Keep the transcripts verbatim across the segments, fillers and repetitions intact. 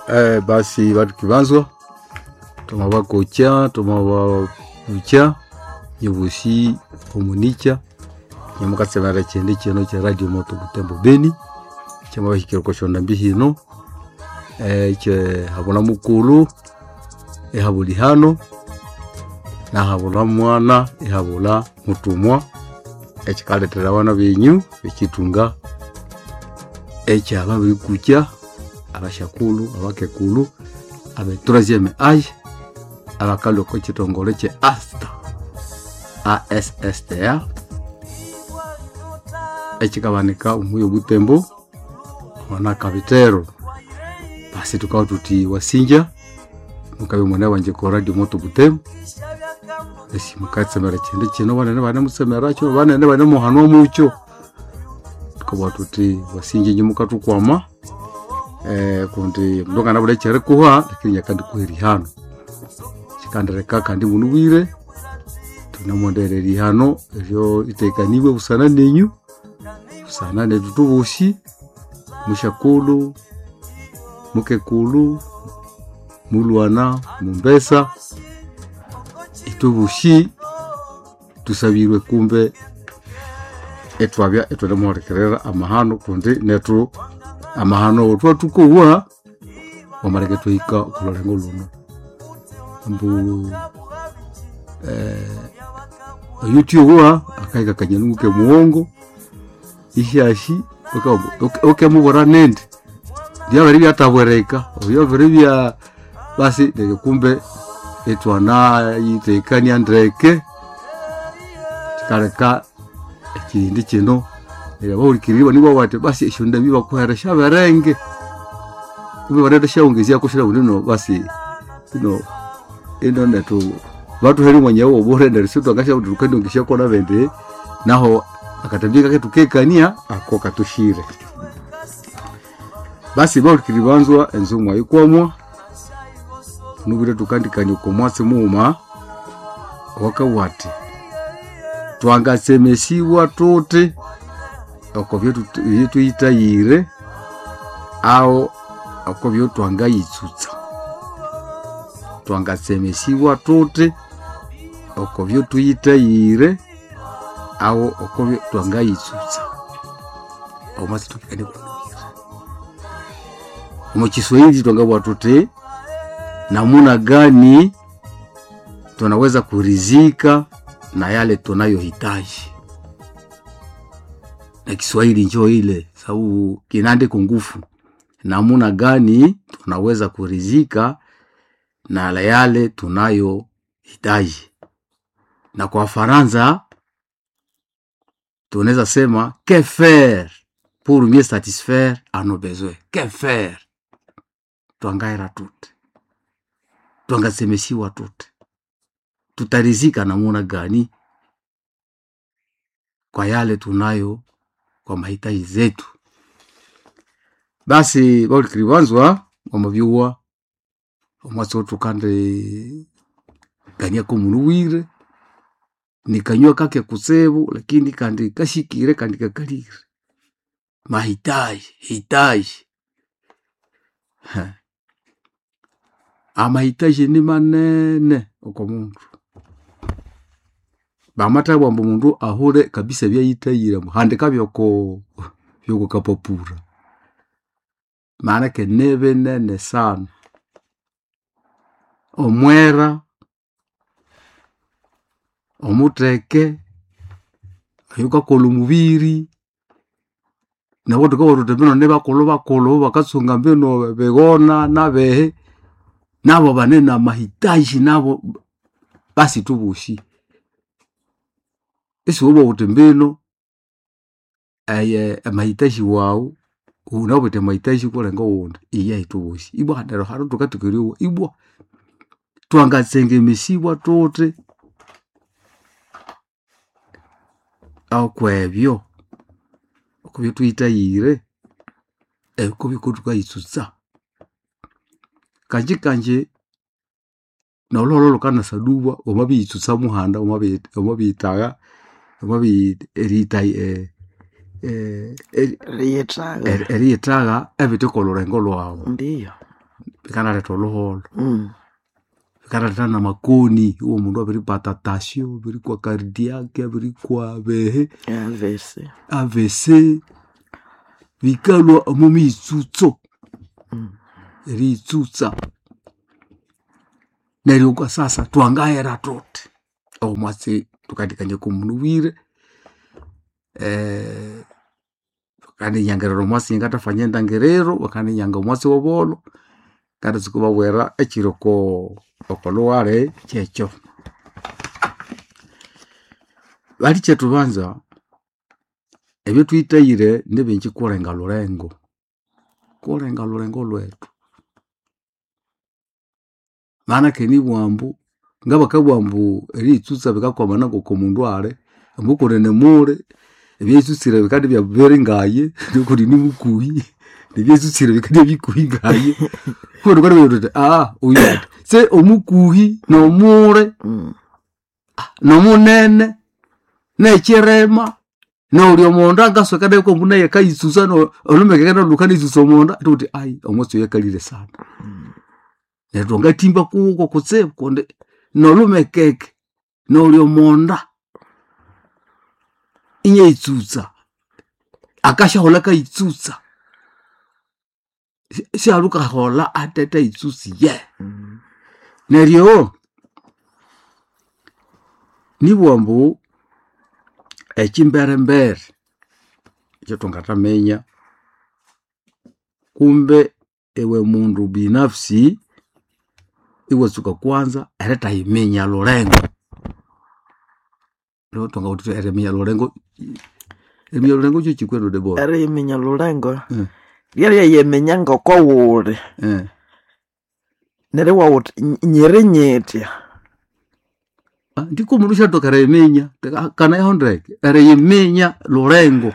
Eh, basi batu kibanzwa tumabakokya tumababucha nyebusi omunicha nyamukatsemera kyende kino kya Radio Moto Butembo Beni kyamabahikira okosyonda mbi hino eh, kye habula mukulu ehabula ihano nahabula mwana ehabula mutumwa ekikalethera abana benyu ekitunga ekyababirikukya abashakulu abakekulu abe troisième age abakalwa oko kitongole kye asta A S S T A ekikabanika omuyi obutembo wana kabitero. Basi tukawa tuti wasinja mukabe mwana wanje ko Radio Moto Butembo esi mukatsemera kyende kino banene banemusemera kyo banene banemuhanwa mukyo tukawa tuti wasinja inyu mukatukwama eh, kundi mndu nganabula ekyerikuha lakini nyakandikuha erihano kikandireka kandi munubwire tunamwonderera erihano eryo litekanibwe busana nenyu busana netu tubusi mushakulu mukekulu mulwana mumbesa itubushi tusabirwe kumbe etwabya etwanemuholekerera amahano kundi netu amahano twatukowa wamaleke twahika okulolengo luno mbu eh, oyutyowa akahika kanyalungu ke muwongo ishashi okemubora nindi byabere byatabwereka obyabere bya basi neryo kumbe etwana yitekania ndeke kikaleka ekindi kino neryo abahulikiriri nibo bati basi esyonda bibakuheresha berenge kumbe bareta syaongezya kushira unino basi ino ino netu batuhere mwanya wo bure neryo sitwangasha kuti tukandongesha kona bende naho akatambika ketu kekania ako katushire basi bahulikiriri banzwa enzumwa yikwamwa nubire tukandikania oko mwatsi muuma wakawati twangasemesiwa tuti oko byetuyitayire aho oko byotwangayitsutsa twangasemesiwa tuti oko byotuyitayire aho oko twangayitsutsa omwatsi tukikane kunuyira omu Kiswahili twangabwa tuti namuna gani tunaweza kurizika na yale tunayohitaji na Kiswahili njo ile sababu kinaandiko ngufu namuna gani tunaweza kurizika na yale tunayohitaji na kwa Faransa tunaweza sema que faire pour mieux satisfaire à nos besoins que faire twangaira tute twangasemesiwa tute tutarizika namuna gani kwa yale tunayo kwa mahitaji zetu basi baulikiribanzwa omubyuwa omwatsi otukandi kaniako munuwire nikanywa kake kutsibu lakini kandi kashikire kandi kakalire mahitaji hitaji Ha. Amahitaji ni manene oko mundu bamathabwa ambu mundu ahule kabisa ebyayithayire handika byoko byoko kapapura maanake nibinene sana omwera omutheke oyukakolha omubiri nabo thukabugha thuthi mbino nibakulhu bakulhu bakatsunga mbino bighona nabihi nabo bane namahitaji nabo basi thubosi isiwabugha wuthi mbino eye amahitaji wawu wunawithe amahitaji kulenga owundi iyahi thubosi ibwa neryo hanu thukatsuka eryowa ibwa twangatsengemesibwa thuthi okwebyo okubyothuyithayire ekubiko thukayitsutsa kanji kanji nolhuholho lhukanasaduba wamabiyitsutsa muhanda wamabiyithagha wamabi eriyitha Eriyithagha eriyithagha ebithe okolhurengo lhwawu ndiyo. Bikanaleta oluholo. Mm. Bikanaleta namakoni iwo mundu abiripata tasyo abirikwa cardiac abirikwa behe A V C. A V C bikalwa omo miyitsutso. Mm. Eriyitsutsa neryo kwa sasa twangahera thuthi omwatsi thukathikania okomundu bwire eh, bakandinyangirira omwatsi ngatafanya endangiriro bakandinyanga omwatsi wobolho ngathatsuka ibabwira ekiri oko okolhughali kyekyo. Balikyetu banza ebyathuyithayire nibingi kulenga lhulengo, kulenga lhulengo lhwethu. Maana kandi ambu ngabakabugha ambu eriyitsutsa bikakwamana ngoku omundu ali ambu kunene muli ebyayitsutsire bikandibya biri ngaye nukundi nimukuhi nebyayitsutsire bikandibya bikuhi ngaye kundi thukanabugha thuthi oyu athi se omukuhi nomuli Mm. nomunene nekyirema noli omonda angasoka naye kwambu naye akayitsutsa olhumekeke nalu lukanayitsutsa omonda thukuthi ayi omwatsi oyu akalire sana. Neryo thwangathimba kuko kutsibu kundi nolhumekeke noli omonda inyayitsutsa akasyaholha akayitsutsa syalukaholha athethayitsutsiye. Mm. Neryo nibugha ambu ekyimberembere ekyathwangathaminya kumbe iwe mundu binafsi iwatsuka kwanza erithayiminya lhulengo. Lho thwangabugha thuthi eriminya lhulengo eriminya lhulengo kyekyi kwenu Debora? Eriyiminya lhulengo Mm. lyeryayiminya ngokowuli Eh. neryo iwawuthi nyiri nyithya. Ndiko omundu syathoka eriyiminya kanayaho ndeke eriyiminya lhulengo.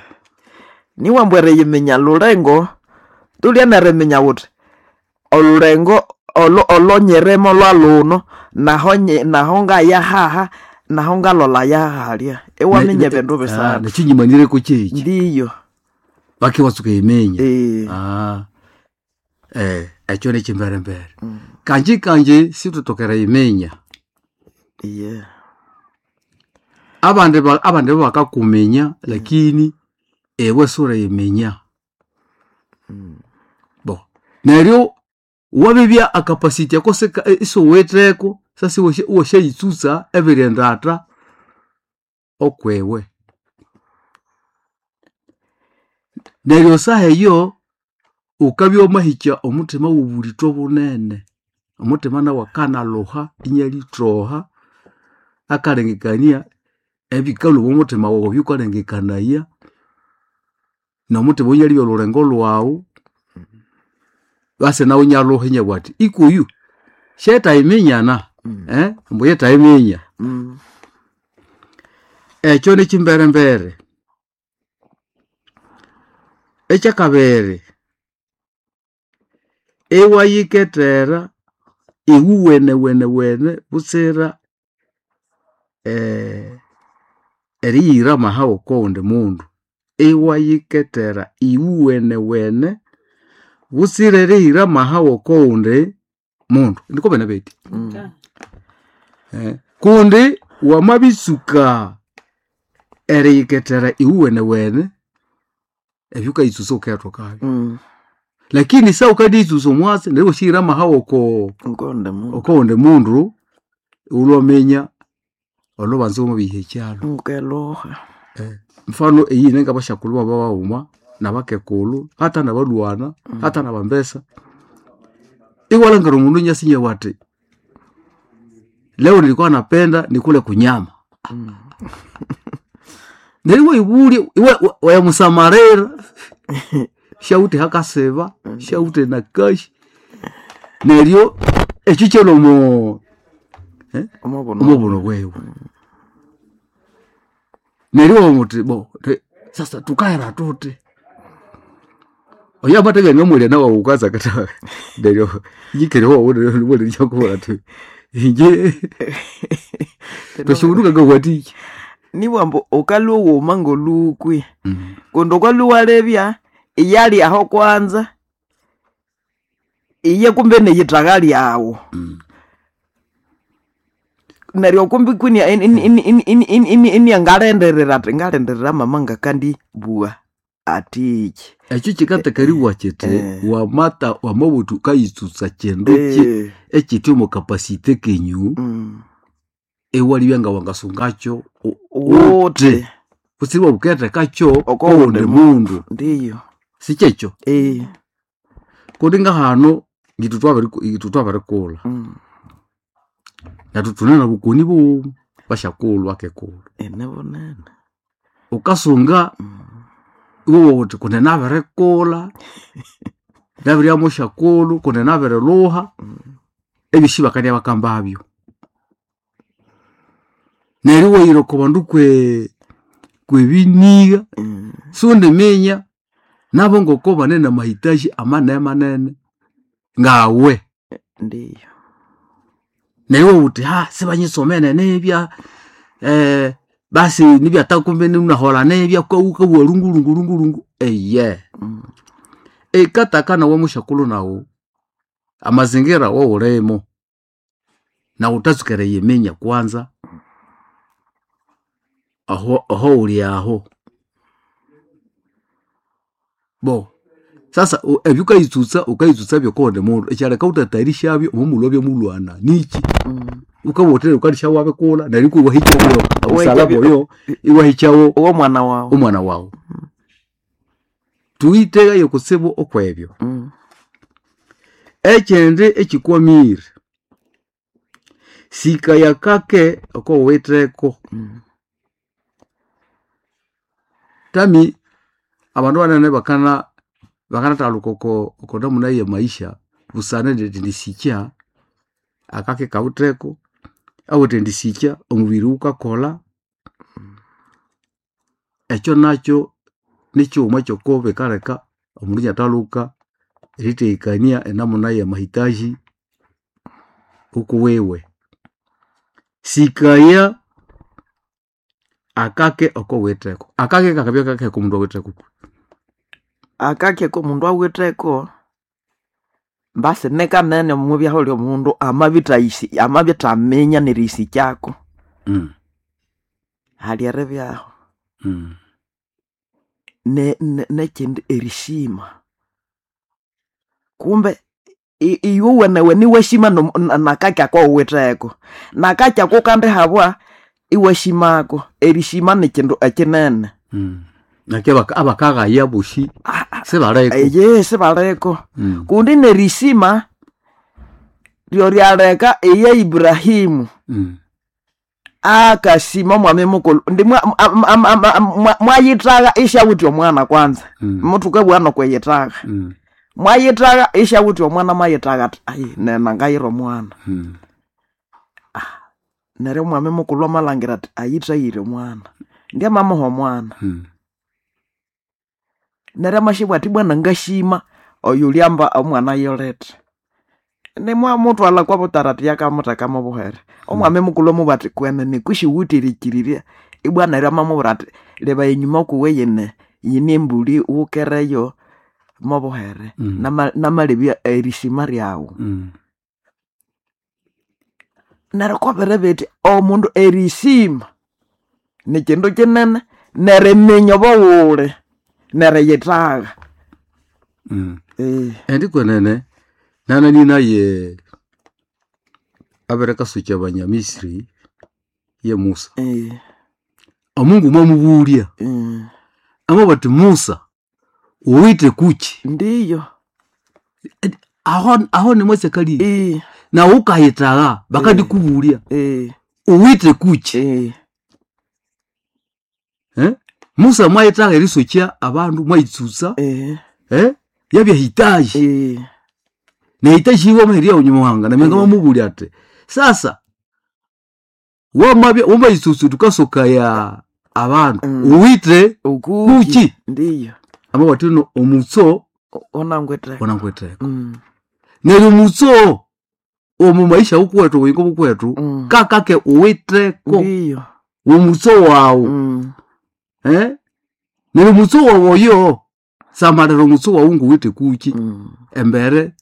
Niwambu eriyiminya lhulengo tulya neriminya wuthi olhulengo olo olonyirimo lwalhuno naho nyi naho ngayahaha naho ngalolaya hahalya iwaminya ebindu bisathu. Nekyinyimanyireko kyekyi Ndiyo. bake iwatsuka eriminya. Eh. Ah, eh, ekyo nekyimberembere. Mm. Kanji kanji sithuthoka eriyiminya. Yeah. Abandi ba- abandi bakakuminya lakini iwe siwuliyiminya. Mm. Bo neryo wabibya acapacity ako sika isiwuwitheko sasa iwasyayitsutsa ebiri endatha okwiwe. Neryo saha eyo wukabya wamahikya omuthima wobulithwa bunene. Omuthima nawu akanalhuha inyalithoha akalengekania ebikalhwa omwamuthima wawu ebyukalengekanaya nomuthima oyo inyalibya olhulengo lhwawu basi nawu inyalhuha inyabugha athi ikuyu syetayiminyana. Mm. Eh, ambu yethayiminya. Mm. Ekyo nikyimberembere. Ekyakabiri iwayikethera iwuwenewene butsira eh, eriyira amaha okowundi mundu. Iwayikethera iwuwenewene butsira eriyira amaha okowundi mundu. Ndiko bene bethi. Mm. Eh, kundi wamabitsuka eriyikethera iwuwenewene ebyukayitsusa wukayatokabyo. Mm. Lakini sa wukadiyitsusa omwatsi neryo iwasyahira amaha oko Ngonde mundu. okowundi mundu iwulwaminya olhubanza wamabiha ekyalo. Ngeluha. Eh, mfano eyine ngabasyakulhu babaghuma nabakekulhu hata nabalhwana hata nabambesa iwalhangira omundu inyasa inyabugha athi leo nilikuwa napenda nikule kunyama. Mm. Neryo iwayibulya iwa wayamusamalira syawithe hakasiba syawithe nakashi neryo ekyo kyalhwa omo Omubuno. omubuno bwewe. Neryo iwabugha bo sasa thukahera thuthi oyo amathabya namwalya nawu wukasa akatha neryo nyikere wawunemwalya athi inje twasyaghunduka ngawathikya. Nibughambu wukalhwa wughuma ngolukwi kundi wukalhwa iwalebya iyali aho kwanza Iye kumbe neyithaga lyawu. Mm. Neryo kumbi kwini iniangalindirira ati ngalindirira mama ngakandibugha atiki. Ekyo kikatakariwa kiti Eh. wamata wamabuthu ukayitsutsa kindu ki Eh, ekiti omo kapasite kenyu mm. ewalibya nga wangasungakyo u- Wuthi kutsiri wabukethekakyo Oko kowundi wundi mundu ndiyo sikyekyo eh, kundi ngahano ngithu twabiri- ngithu twabirikulha mm. nathu thune nobukoni bughuma basyakulhu akekulhu Ene bunene wukasunga Mm. iwowa wuthi kundi nabirikulha nabirya musyakulhu kundi nabirilhuha ebyosi bakandya bakambabyo neryo iwayira oko bandu kwe kwebinigha Mm. siwundiminya nabo ngoko bane namahitaji amanene manene ngawe Ndiyo neryo iwawuthi ha sibanyisomene nibya eh, basi nibya takumbe nahola nibya kawukawa lungulungulungulungu eye Mm. ekataka nawe musyakulhu nawu amazingira wowulimo nawu utatsukere yiminya kwanza aho aho wuli aho bo sasa u- ebyo ukayitsutsa ukayitsutsa byokondi mundu ekyaleka wutatayarisyabyo omumulwa byomulwana niki Mm. ukabotera ukalisha wabikulha neryo iwahikyawo obusalaba Wahikya- oyo iwahikyawo Uwo mwana wawu omwana wawu tuyitegayo kutsibu okwebyo Mm. ekyindi ekikwamire sikaya kake okowitheko Mm. tami abandu banene bakana bakanathaluka oko oko namuna ye maisha busana ndithi ndisikya akake kawitheko awithe ndisikya omubiri wukakolha ekyo nakyo nikighuma kyoko bikaleka omundu inathaluka eritheghekania enamuna ya mahitaji ukuwiwe sikaya akake okowitheko akake kakabya kakeke omundu awitheko Akake komundu awitheko mbasi nikanene omubyaho lyomundu amabithayisi amabithaminya nerisikyako mm. hali eribyaho mm. ne- ne- nekyindi erishima kumbe i- iwe wenewe niwashima nom- na- nakaki akowuwitheko nakaki ako kandihabwa iwashimako erishima nikindu ekinene mm. nake abaka- abakaghaya bosi Ah, ah, sibaleko eye sibaliko mm. kundi nerishima lyoryaleka iye Ibrahimu mm. akashima mwami mukulu ndi mwa- am- am- am- am- mwa- mwayithaga ishawuthi omwana kwanza mm. muthuke bwana kweyithaga mm. mwayithaga ishawuthi omwana mwayithaga ati ai nena ngayira omwana mm. neryo mwami mukulu amalhangira ati ayithayire omwana ndyamamuha omwana mm. neryo amashibwa ati bwana ngashima oyu lyamba omwana yolethe nimwamuthwalha kwabutarati yakamutheka mubuhere omwami mukulu amubwira ati kwenene kushiwuthirikirirya ibwa neryo amamubwira ati leba enyuma kuwe yine yine embuli wukereyo mobuhere Mm. Nama- namalebya erishima lyawu mm. neryo kwabere bithi omundu erishima nikindu kinene neriminya obuwuli neriyithaga mm. Eh, endi kwenene nanani naye abirekasukya abanyamisiri ye Musa eh, omungu mwamubulya eh. amabati bati Musa uwite kuki ndiyo aho aho nimwesekali Eh, na ukahitagha bakandikubulya eh, uwite kuki eh. eh? Musa mwayitagha erisukya abandu mwayitsutsa Eh, eh? yabyahitaji eh, nehitaji iwe mahiria unyimuhanga namenga Eh. mamubulya ati sasa wamabya wamayitsutsu tukasoka ya abandu Mm. uwite ukuki kuki ndiyo amabati no omutso O- onangwetheko onangwetheko Mm, neryo omutso omu maisha wukuwethu obuyingo bukwethu mm. kakake uwitheko ndiyo omutso wawu Mm, eh? neryo omutso wawu oyo samalira omutso wawu nguwithe kuki mm. embere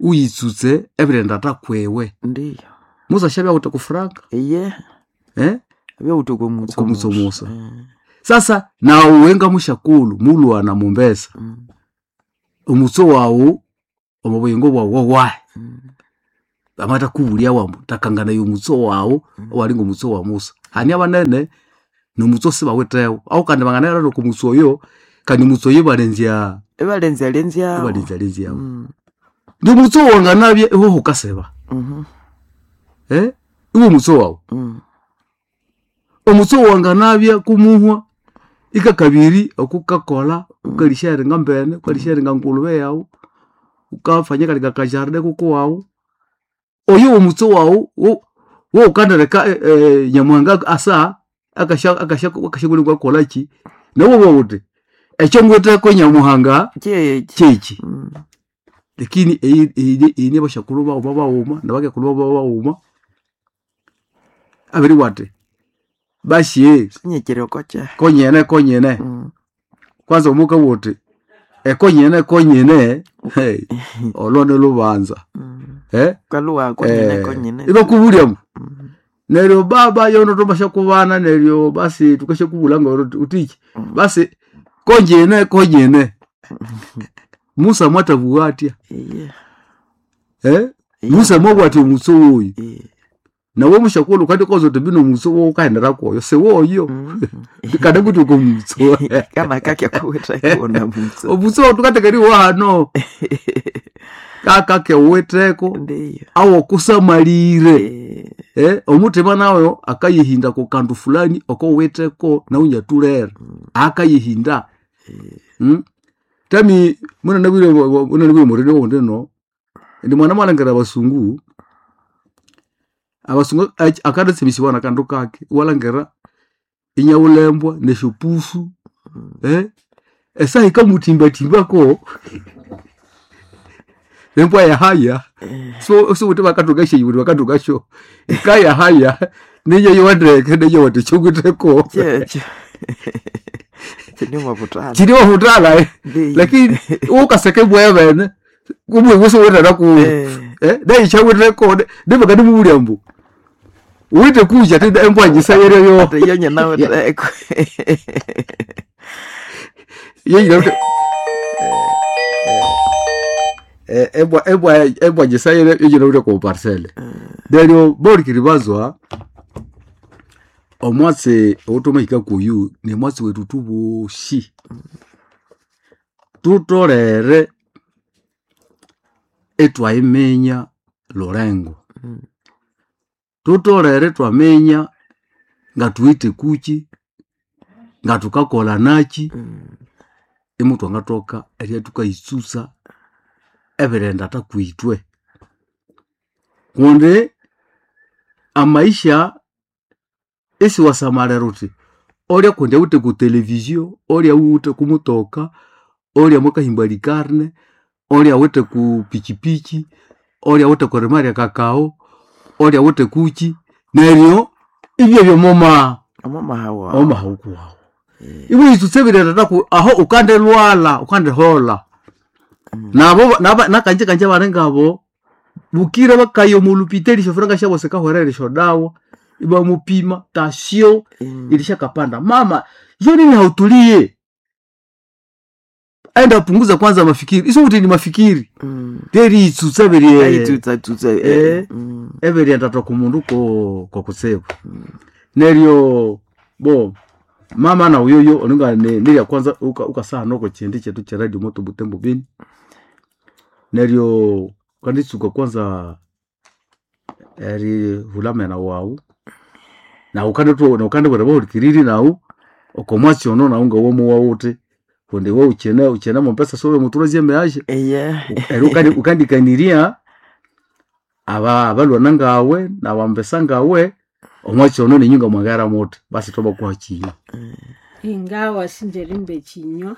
Uyitsutse ebirenda takwewe. Ndiyo. Musa shabya uta kufranka. Iye. Eh? Abya uta kumutso. Kumutso Musa. Mm. Sasa na uwenga mushakulu mulwana mumbesa. Mm. Omutso wawu omubuyingo bwawu wawahe. Mm. Amata kubulia wambu takangana y'omutso wawu mm. Owalinga omutso wa Musa. Hani abanene nomutso sibawetewo. Aho kandi banganera no kumutso oyo kandi mutso yibalenzya ebalenzya lenzya. Ebalenzya lenzya. Mm. Ndi mutso wanganabye iho hukaseba. Mhm. Eh? Iwo mutso wawu. Mm. Omutso wanganabye kumuhwa ikakabiri okukakola ukalisharinga mbene ukalisharinga ngulube yawu ukafanya kalika kajarde kuko wawu oyo omutso wawu wo wo ukandereka e, e, nyamuhanga asa akasha akasha akasha kola ki nawo wote ekyo ngweteko nyamuhanga chechi chechi mm. Lakini eyi eyi ne bashakulu bawo babawuma nabakekulu babawuma abiri wate bashiye nyekere kocha konyene konyene mm. Kwanza omuka wote ekonyene konyene hey olone lubanza mm. Eh kaluwa konyene eh, konyene ibakubulya mm. Neryo baba yono tomasha kubana neryo basi tukashe kubulanga utiki mm. Basi konyene konyene Musa mwatavuatia yeah. Eh yeah. Musa mwabwati omutso oyo yeah. Nawe mushakulu kandi kozo tebino mutso wo kaendera koyo sewoyo mm. Kada kuti uko mutso kana kakya kuweta kuona mutso omutso tukatekeri wano kaka keweteko ndiyo awo kusamalire eh eh omutima nawe akayihinda ku kandu fulani okoweteko naunyatulera mm. Akayihinda eh. Mm? Tami muna nabire muna nabire murene wonde no ndi mwana mwalangera abasungu abasungu akadatsibisibwa na kandu kake walangera inyawulembwa neshupufu Mm. eh esa ikamutimba-timbako embwa ya haya Eh. so so kuti vakatoka shei kuti vakatoka sho ikaya haya nenye yowandeke nenye wati chokuteko checho chini mavutana chiri wavutala eh. ndiyo Lakini ukaseke mbwa vene kumwe wuso wetana ku eh eh dai chaweteko ndivakati mubulya mbu uite kuja tenda embwa njisayere yo ate yenye nawe teko yeyi eh embwa embwa embwa njisayere yo yo ko parcelle Neryo bolikiri bazwa omwatsi otumahika kuyu ni mwatsi wetu tuboshi tutolere etwaimenya lurengo Mm. Tutolere twamenya nga tuwite kuchi nga tukakola nachi Mm. imutu angatoka erya tukayitsusa ebirenda takwitwe kundi amaisha esiwasamalira uti olya kundi awite ku televizio olya awite kumutoka olya mwakahimba likarne olya awite ku pichipichi olya awite kurimarya kakao olya awite kuchi neryo ibyo byomoma omama hawa omahaukuwawu eh iwe itsutse birenda taku aho ukandelwala ukandehola mm. nabo naba nakanje kanje barengabo bukire bakayo mulupiteli shofuranga shabo sekahwerere shodawa ibamupima tasio Mm. ilishakapanda mama hiyo nini hautulie aenda punguza kwanza mafikiri iso kuti ni mafikiri Mm. teri itsutsa biri Aitsutsa tsutsa Eh. eh mm. ebiri endatwa ku mundu ko ko kutsibu Mm. neryo bo mama na uyoyo oninga ne nilya kwanza uka ukasaha noko chindi chetu cha radio moto Butembo Beni neryo kanditsuka kwanza eri hulamena wawu na ukande na ukande bwera baulikiriri nawu okomwatsi ono nawu nga womu wawuti kundi we uchene uchene mompesa sobe mutulozie meashe Eye eri ukandi ukandikaniria aba abalwana ngawe na wambesa ngawe omwatsi ono ninyunga mwangara muti basi toba kuha chinywa Ingawa sinjerimbe chinywa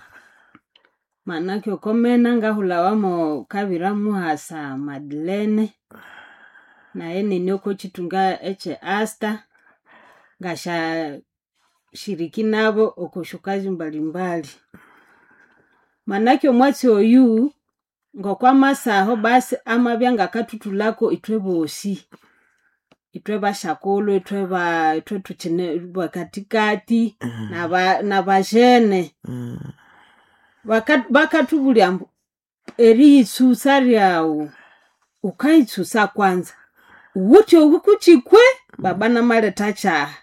manake okomena ngahulawamo kabira muhasa Madeleine naye nini oko chitunga eche Asta ngasha shiriki nabo okoshukazi mbalimbali manake omwatsi oyu Ngokwamasaho basi amabya ngakathuthulako ithwe bosi. Ithwe bashakulhu, ithwe ba ithwe thukyine bakathikathi naba nabajene. Baka bakathubulya ambu eriyitsusa ryawu, wukayitsusa kwanza wuwithe obukukyikwe baba namaletha kyaha.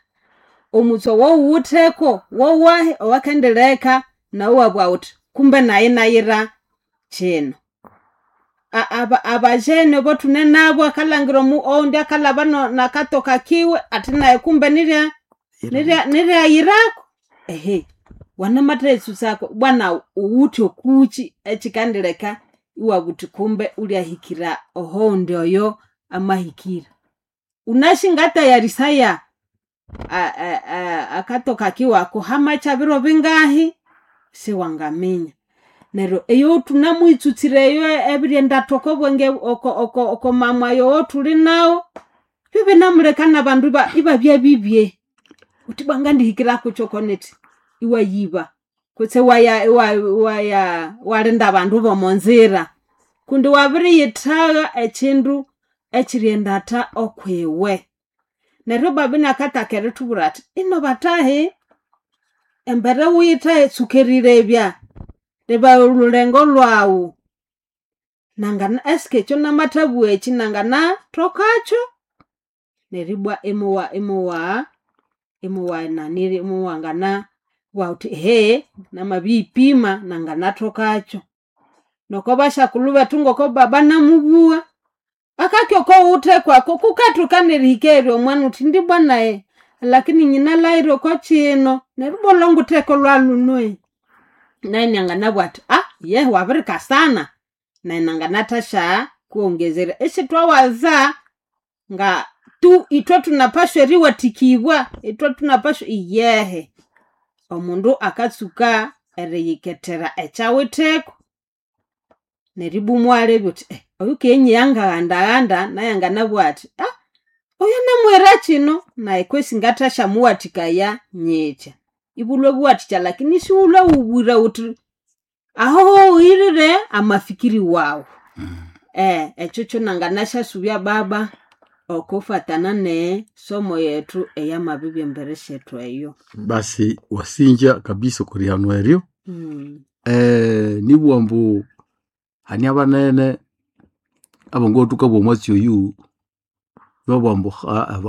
Omutsu owawuwitheko wowahi owakendileka nawu iwabugha wuthi kumbe nayi inayira kyino. Aba abajene abothune nabu akalhangira omu owundi akalhaba nakatoka kiwe athi nayi kumbe nirya nirya niryayirako ehe. Wanamathaghitsusako bwana wuwithe okukyi ekyikandileka iwabugha wuthi kumbe wulyahikira ohowundi oyo amahikira. Wunasi ngatayarisaya akatoka kiwe ako hamakya biro bingahi siwangaminya. Neryo eyo thunamuyitsutsire eyo ebiryendatha okobwenge oko oko okomamwayo owothuli nawu, byebinamuleka nabandu iba ibabya bibye. Wuthi ibwa ngandihikira kukyi okonithi, iwayiba kutse iwaya iwaya iwalinda abandu bomonzira. Kundi wabiriyithagha ekyindu ekyiriendatha okwiwe. Neryo baba inakataka erithubwira athi ino bathahi, embere wuyithahe tsuka erilebya, leba olhulengo lwawu nangana eske ekyo namathabugha ekyi nanganathokakyo? Neribwa imuwa imuwa imuwananiri imuwangana bugha wuthi ehe namabiyipima nanganathokakyo. Noko basyakulhu bethu ngoko baba namubugha, akaki okowuwitheko ako kukathoka nerihika eyiri omwana wuthi indi bwa nayi lakini nyinalhaghire okokyino neryo ibwa olhwangutheko lwalhuno. Nayu inanganabugha athi yehe wabirikasana nayi nanganathasya kuwongezerya isithwawaza nga tu ithwe thunapashwa eriwathikibwa, ithwe thunapashwa iyehe. Omundu akatsuka eriyikethera ekyawitheko neribwa imuwalebya wuthi oyukinyigha ngaghandaghanda nayu anganabugha athi oyo namuwira kyino nayi kwesi ngathasyamuwathikaya nyithya. Iwulhwe buwathikya lakini isiwulhwe wubwire wuthi aho wuhirire amafikiri wawu. Eh, ekyo kyonanganasyasubya baba okufatana nesomo yethu eyamabibya embere syethu eyo. Basi wasinja kabisa okwerihanwa eryo. Mm. Eh, nibugha ambu hane abanene abangoko thukabugha omwatsi oyu babugha ambu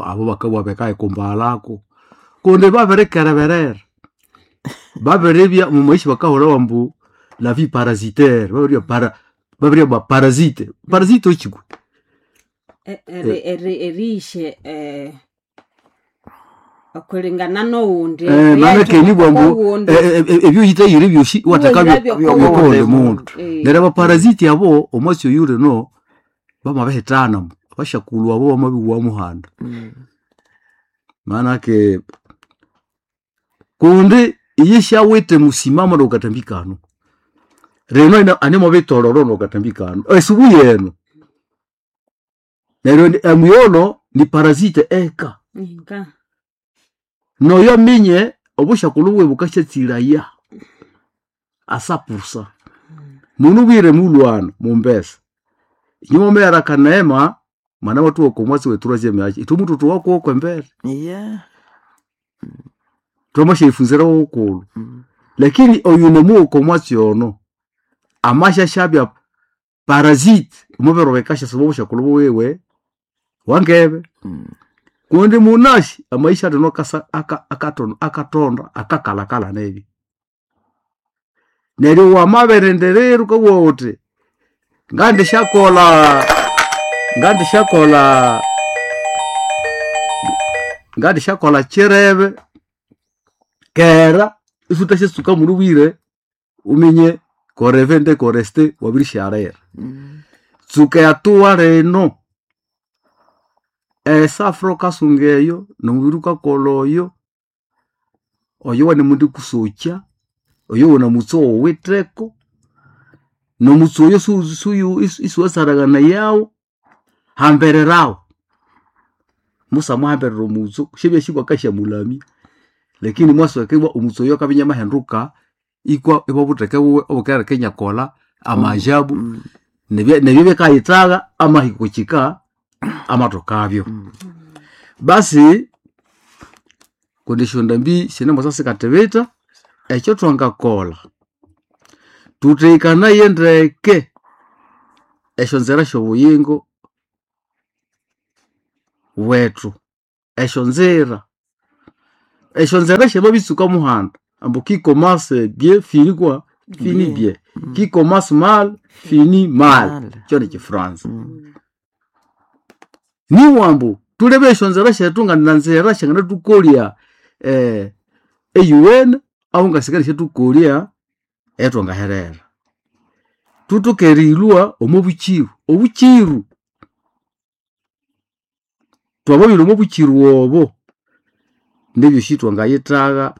abo bakabugha bakayikumbalhako kundi babirikereberera. Babiribya omumaisha bakahulhawa ambu la vie parasitaire, babiribya para babiribya parasite. Parasite wekyi kwe? Eri- eri- eriyishe okulingana nowundi Eh, maana nibugha ambu owundi ebyoyithayire byosi iwathekabyo Iwahirabyo byokuwundi mundu. Eh, Neryo abaparasite abo omwatsi oyu lino bamabihithana abasyakulhu abo bamabibugha muhanda. Maanake kundi iyo syawithe musimamo nokathambĩ kano. Rino animubitololo nokathambĩ kano esubu yenu. Neryo emuyolo ni parasite eka. Inga. Noyo aminye obusyakulhu bwiwe bukasyatsilaya asapusa. Munubwire mulhwana mumbesa. Inywe mwameghera akaneema mwanamathubugha okomwatsi we troisième age ithwe muthuthuwaku kwembere. Yeah. Thwamasyayifunzira ghukulhu. Lakini oyu nemuwa okomwatsi ono amasyasyabya parasite omubiri bikasyasiba obusyakulhu bwiwe wangebe. Kundi munasi amaisha lino akasa aka- akatonda akatonda akakalakala nebi. Neryo wamabirindirira wukabugha wuthi ngandisyakolha ngandisyakolha ngandisyakolha kyirebe kera isuthasyatsuka munubwire wuminye koreve koreste wabirisyaghira. Tsuka ehatua lino esafura wukasunga eyo nomubiri wukakolha oyo, oyo wanemundi kusokya, oyo wunamutse owuwitheko, nomutse oyo su- suyu isiwasaranganayawu, hambirirawu. Musamuhambirira omutsu syabya bwakasyamulamya lakini mwasokibwa omutsu oyo akabya inamahinduka ikwa ibwabutheke buwe obukaleka inyakolha amajabu. Nebye nebyo byakayithaga amahiko kika amatokabyo. Basi kundi esyondambi sinemusa sikatibita, ekyo thwangakolha thuthekanaye ndeke esyonzira syobuyingo bwethu, esyonzira esyonzira syamabitsuka muhanda ambu qui commence bien finit quoi finit bien, qui commence mal finit mal, Mal. kyo nikifranza. Niwambu thulebe esyonzira syethu nga nanzira syanganathukolya eh, eyuwene ahu ngasikali syathukolya eyatwangaherera. Thuthoke erilhwa omo bukiru, obukiru twamabirwa omo bukiru obo nebyosi twangayithagha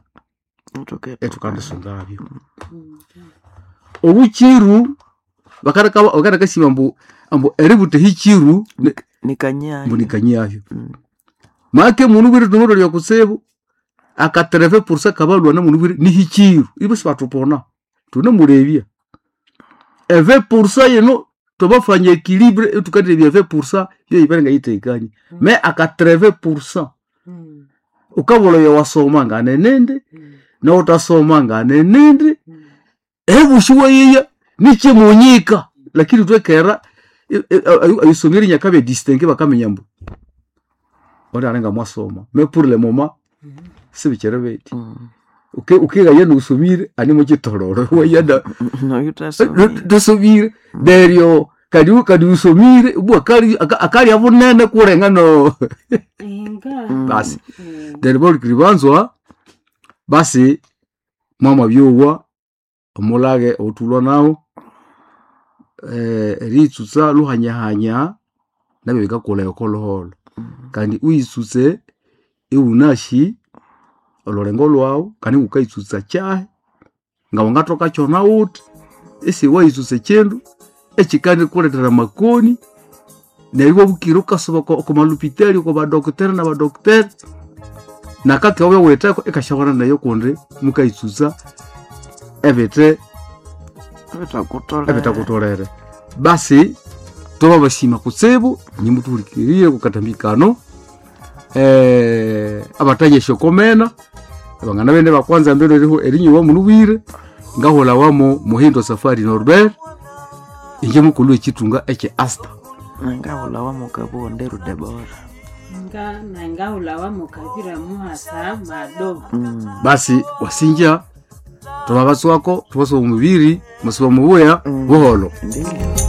ethukandisungabyo. Obukiru bakaleka bakalekasima ambu ambu eributha ehikiru ni- Nikanyaya. mbu nikanyavyo. Make mundu bwire tunomulolya kutsibu akatereve pursa kabalwana mundu bwire nihikiru ibo sibathupona tunemulebya eve pursa yino twabafanya equilibre etukaterebya eve pursa yoyibere ngayitekanie me akatereve pursa ukabulha oyo wasoma nganenindi nowuthasoma nganenindi ebushi wayiya nikimunyika lakini twekera ayisomire nyakabya distingue bakaminya mbu ondi alinga mwasoma mais pour le moment sibikyiri bithi Uki- ukigaya niwusomire animukitololo wayana tusomire neryo kadi kadi usomire ubwa akali akali abunene kurenga no inga basi Mm. neryo balikiri banzwa basi mwama byowa omulage othulwa nawo eh, eriyitsutsa luhanyahanya nabyo bikakolha okoluholo kandi uyitsutse iwunashi olulengo lwawu kandi wukayitsutsa kyahi nga wangathoka kyona wuthi isiwayitsutsa ekindu ekikandikulethera amakoni neryo iwabukira wukasuba oko oko malupitali oko badokiteri na badokiteri nakake wabya wuwitheko ikasyawana nayo kundi mukayitsutsa ebithe ebithakutholere basi twababasima kutsibu nyimutuhulikirire kukatambi kano eh, abataya esyokomena abangana bene bakwanza mbeno eriho erinyowa mulubwire ngahulha wamo Muhindo Safari Norbert inje mukulu w'ekitunga ekye Asta. Ngahulha wamukabuwa Nderu Debora. Nga nangahulha mukabira muhasa mado Basi wasinja twababatswako tubasuba omubiri musuba mubuya buholo. Ndiyo.